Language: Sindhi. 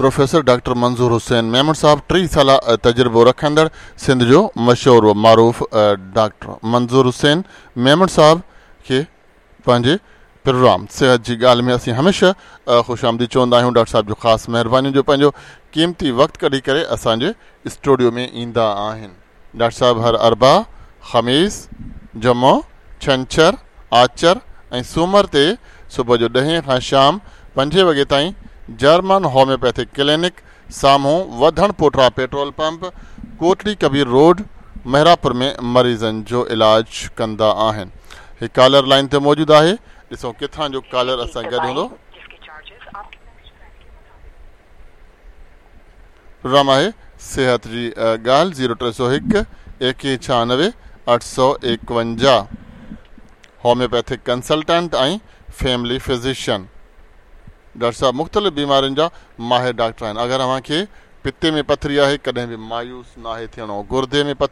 پروفيسر ڊاڪٽر منظور حسين ميمڻ صاحب 30 سالا تجربو رکندڙ سنڌ جو مشهور و معروف ڊاڪٽر منظور حسين ميمڻ صاحب کي پنهنجي پروگرام صحت جي ڳالهه ۾ اسين هميشه خوش آمديد چوندا آهيون. ڊاڪٽر صاحب جو خاص مهربانيون جو پنهنجو قيمتي وقت ڪڍي ڪري اسان جي اسٽوڊيو ۾ ايندا آهن. ڊاڪٽر صاحب هر اربع، خميس، جمعو، ڇنڇر، آچر ۽ سومر تي صبح جو ڏهين کان شام پنجين وڳي تائين جرمن هوميوپيٿڪ ڪلينڪ سامهون وڌڻ پوٽرا petrol pump, Kotri Kabir road, Mehrabpur ۾ مريضن جو علاج ڪندا آهن. هي ڪالر لائين تي موجود آهي ڏسون ڪٿان جو ڪالر اسان گڏ هوندو. پروگرام آهي صحت جي ڳالهه zero 301 21 96 851 homeopathic consultant ۽ family physician doctor صاحب مختلف بيمارين جا ماهر ڊاڪٽر آهن. اگر اوهان کي پتي ۾ پٿري آهي ڪڏهن به مايوس ناهي ٿيڻو. گردي ۾ پٿري.